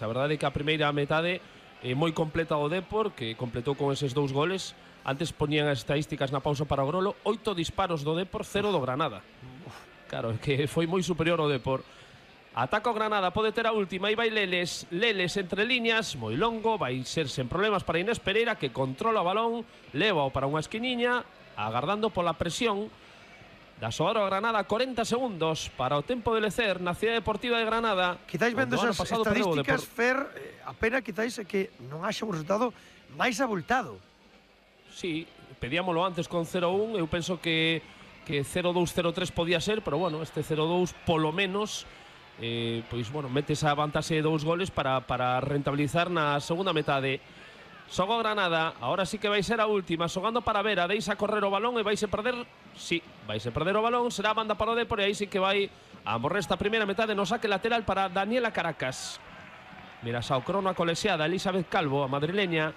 A verdade é que a primeira metade é moi completa do Depor, que completou con eses 2 goles. Antes poñían as estadísticas na pausa para o Grolo, 8 disparos do Depor, 0 do Granada. Claro, que foi moi superior ao Depor. Ataca o Granada, pode ter a última, aí vai Leles entre líneas, moi longo, vai ser sen problemas para Inés Pereira, que controla o balón, leva-o para unha esquiniña, agardando pola presión da xogar o Granada. 40 segundos para o tempo de lecer na Cidade Deportiva de Granada. Quizáis vendo esas estadísticas, Fer, a pena quizáis é que non haxa un resultado máis abultado. Sí, pedíamolo antes con 0-1, eu penso que 0-2-0-3 podía ser, pero bueno, este 0-2 polo menos pois bueno, mete esa vantaxe de 2 goles para rentabilizar na segunda metade. Xoga o Granada, ahora sí que vai ser a última, xogando para Vera, deixa correr o balón e vaise perder. Sí, vaise perder o balón, será a banda para o Depor e aí sí que vai a morrer esta primeira metade no saque lateral para Daniela Caracas. Mira xa o crono a colexiada Elizabeth Calvo, a madrileña.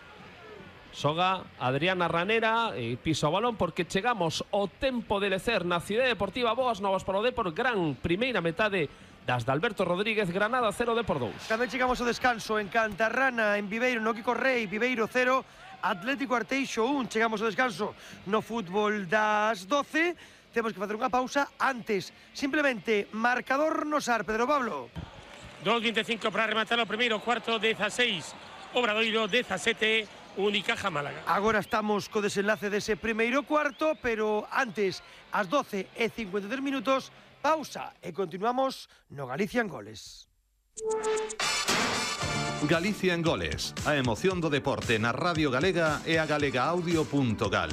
Xoga Adriana Ranera e pisa o balón porque chegamos ao tempo de lecer na Cidade Deportiva. Boas novas para o Depor, gran primeira metade das de Alberto Rodríguez. Granada 0, Depor 2. Tamén chegamos ao descanso en Cantarrana, en Viveiro, no Kiko Rei, Viveiro 0, Atlético Arteixo 1. Chegamos ao descanso no fútbol das 12. Temos que facer unha pausa antes. Simplemente, marcador no SAR, Pedro Pablo. 2:25 para rematar o primeiro cuarto, 16 Obradoiro, 17 Unicaja Málaga. Agora estamos co desenlace dese primeiro cuarto, pero antes, ás 12:53 minutos, pausa e continuamos no Galicia en Goles. Galicia en Goles, a emoción do deporte na Radio Galega e a galegaaudio.gal.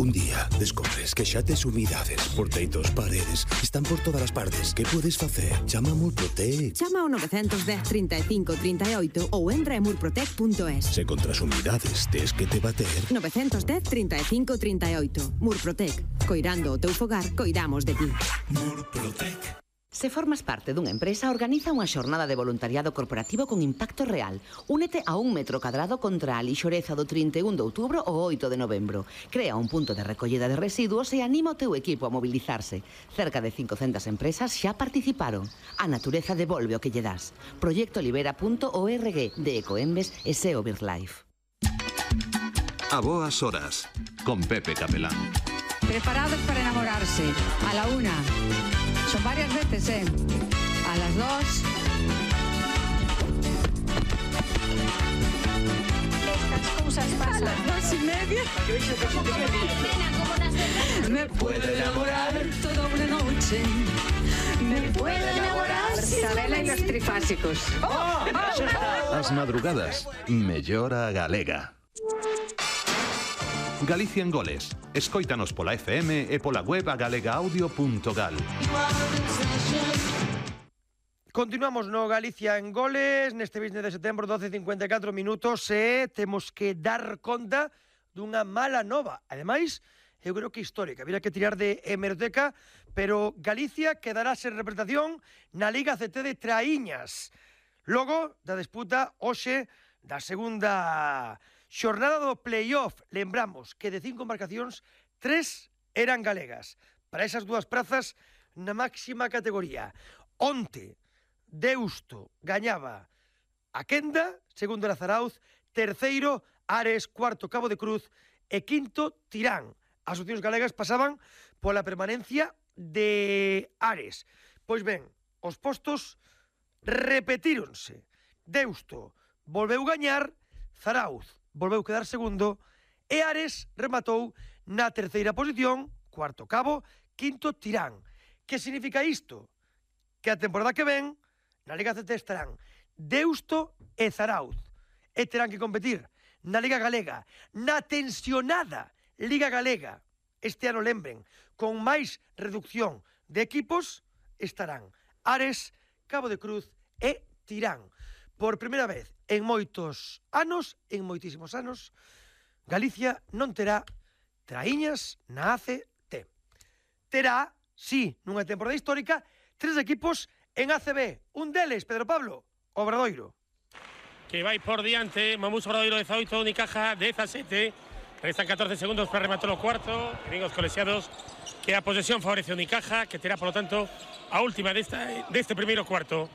Un día descobres que xa tes humidades por teitos, paredes, están por todas as partes. Que podes facer? Chama a Murprotec. Chama ao 910 35 38 ou entra en murprotec.es. Se contra as humidades tes que te bater. 910 35 38. Murprotec. Coirando o teu fogar, coidamos de ti. Murprotec. Se formas parte dunha empresa, organiza unha xornada de voluntariado corporativo con impacto real. Únete a 1 metro cadrado contra a lixoreza do 31 de outubro ao 8 de novembro. Crea un punto de recollida de residuos e anima o teu equipo a mobilizarse. Cerca de 500 empresas xa participaron. A natureza devolve o que lle das. Proyectolibera.org de Ecoembes e SEO BirdLife. A boas horas, con Pepe Capelán. Preparados para enamorarse. A la 1. Son varias veces, a las 2. Estas cosas pasan. A las 2:30. Me puedo enamorar toda una noche. Me puedo enamorar. Sabela y los trifásicos. As madrugadas, mellora galega. Galicia en Goles. Escóitanos pola FM e pola web a galegaaudio.gal. Continuamos no Galicia en Goles neste 20 de setembro, 12:54 minutos, e temos que dar conta dunha mala nova. Ademais, eu creo que histórica. Habría que tirar de hemeroteca, pero Galicia quedará sen representación na Liga CT de Traíñas. Logo da disputa hoxe da segunda xornada do playoff. Lembramos que de 5 embarcacións, 3 eran galegas. Para esas 2 prazas na máxima categoría. Onte, Deusto gañaba a Quenda, segundo era Zarauz, terceiro Ares, cuarto Cabo de Cruz e quinto Tirán. As opcións galegas pasaban pola permanencia de Ares. Pois ben, os postos repetíronse. Deusto volveu gañar, Zarauz volveu quedar segundo e Ares rematou na terceira posición, cuarto Cabo, quinto Tirán. Que significa isto? Que a temporada que ven na Liga CT estarán Deusto e Zarauz e terán que competir na Liga Galega, na tensionada Liga Galega. Este ano, lembren, con máis reducción de equipos estarán Ares, Cabo de Cruz e Tirán. Por primeira vez en moitos anos, en moitísimos anos, Galicia non terá Traíñas na ACT. Terá, sí, nunha temporada histórica, 3 equipos en ACB. Un deles, Pedro Pablo, Obradoiro. Que vai por diante, Mamús Obradoiro 18, Unicaja 17. Restan 14 segundos para rematar o cuarto. Amigos colexiados, que a posesión favorece a Unicaja, que terá, por lo tanto, a última deste primeiro cuarto.